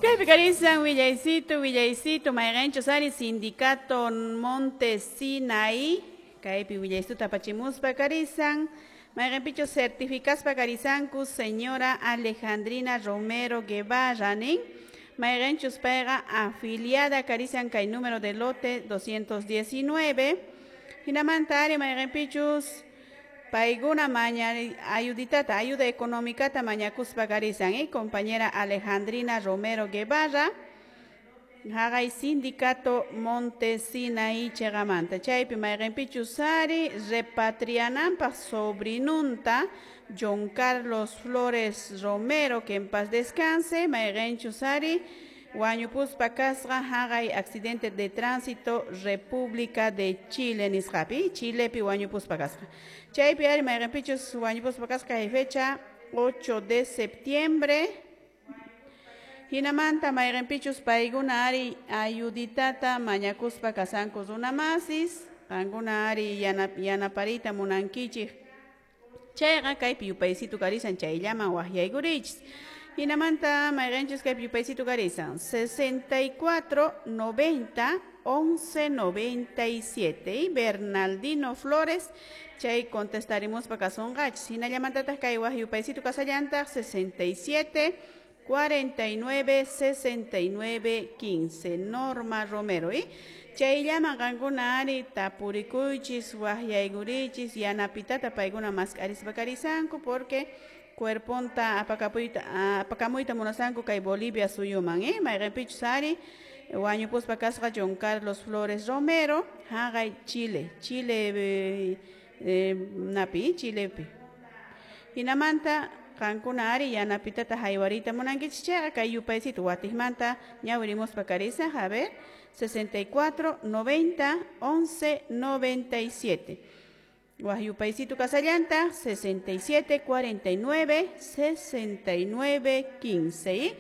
Kaypi karisan willaysitu, willaysitu, mayqinchus ari sindicato Monte Sinaí, kaypi willaysitu apachimuspa karisan, mayqinpichus certificaspa karisanku señora Alejandrina Romero Guevara nin, mayqinchus payqa afiliada karisan kay número de lote 219, hinamanta ari mayqinpichus paykuna maña ayuditata, ayuda económicata mañakuspa karisan, compañera Alejandrina Romero Guevara, haqay sindicato Monte Sinaí chiqamanta, chaypi mayqinpichus ari repatriananpaq sobrinunta John Carlos Flores Romero, que en paz descanse, mayqinchus ari wañupuspa kasqa haqay accidente de tránsito República de Chile nisqapi, Chilepi wañupuspa kasqa. Chaypi ari mayqinpichus wañupuspa kasqa kay fecha 8 de septiembre. Hinamanta mayqinpichus paykuna ari ayuditata mañakuspa kasanku runamasis, qankuna ari yanapariyta munankichik. Chayqa kaypi yupaysitu karisan chayllaman waqyaykurichis. Hinamanta mayqinchus kaypi yupaysitu karisan 64 90 11 97 y Bernaldino Flores chay contestarimuspa kasunqachis. Hinallamantataq kay waq yupaysitu kasallantaq 67 49 69 15 Norma Romero, Chayllaman qankuna ari tapurikuychis, waqyaykurichis, yanapitata paykuna mask'arispa karisanku porque cuerponta apakamuyta munasanku kay Bolivia suyuman, mayqinpichus ari wañupuspa kasqa John Carlos Flores Romero, haqay Chile, Chile napi, Chilepi. Hinamanta qankuna ari yanapitata haywariyta munankichis chayqa kay yupaysitu watiqmanta ñawirimuspa karisa, a ver, 64 90 11 97. Waq yupaysitu kasallanta 67 49 69 15.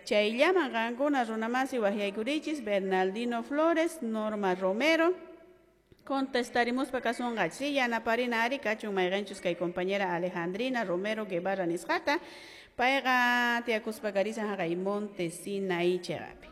Chayllaman qankuna runamasi waqyaykurichis Bernaldino Flores, Norma Romero. Contestarimuspa kasunqachis, ¿sí? Yanaparina ari kachun mayqinchus kay compañera Alejandrina Romero Guevara nisqata, payqa tiyakuspa karisan haqay Monte Sinaí chiqapi.